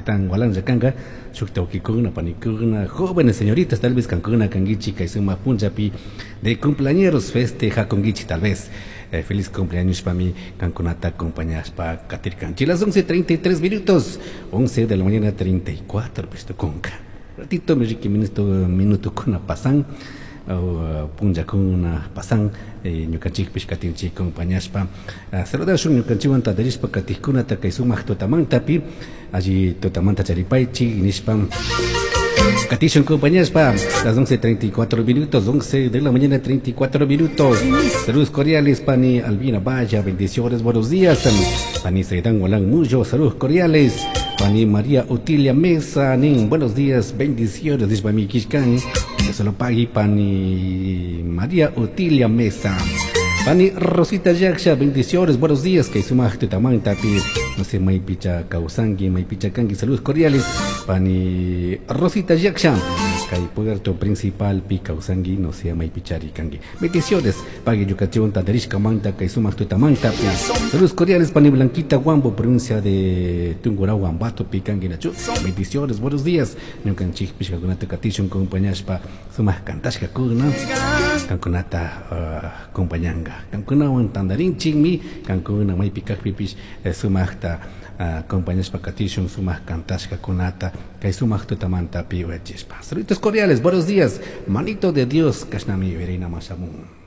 Saitan Walan llakanga shukta wawkikuna, panikuna, jóvenes señoritas tal vez kankuna kankichik kay sumak punllapi de cumpleañeros festejakunkichik tal vez. Feliz cumpleaños pami kankunata acompañashpa katirkanchik. Las 11:33 minutos, 11 de la mañana 34 pishtukunka. Ratito mi riki minuto minutokuna pasan punllakuna pasan ñukanchikpish katinchik acompañashpa. Saludashun ñukanchikwan tantarishpa katikkunata kay sumak tutamantapi alli tutamanta charipaychik nishpa katishun acompañashpa. Las 11:34 minutos, 11 de la mañana 34 minutos. Saludos cordiales, Pani Albina Vaya, bendiciones, buenos días. Pani Saidan Walán Muyo, saludos cordiales. Pani María Otilia Mesa, nin, buenos días, bendiciones, nishpa mi kishkan. Que se lo pague Pani María Otilia Mesa. Pani Rosita Yaksha, bendiciones, buenos días, que sumak tutamantapi, no sé, maypicha kawsanki, maypicha kanki, saludos cordiales. Pani Rosita Yaksha, kay puerto principal pi kawsanki, no sé, maypichari kanki. Bendiciones, pague ñukanchikwan tantarishka manta, kay sumak tutamantapi. Saludos cordiales, Pani Blanquita Huambo, provincia de Tungurahua, Ambato, pi kanki nachu. Bendiciones, buenos días. Ñukanchikpish kankunata katishun acompañashpa sumak kantashka kuna, kankunata acompañanga. Kankunawan tantarinchikmi, kankuna maypi kakpipish sumakta acompañashpa katishun sumak kantashka kunata kay sumak tutamantapi uyachishpa. Saluditos cordiales, buenos días, manito de Dios, kashnami verina mashamun.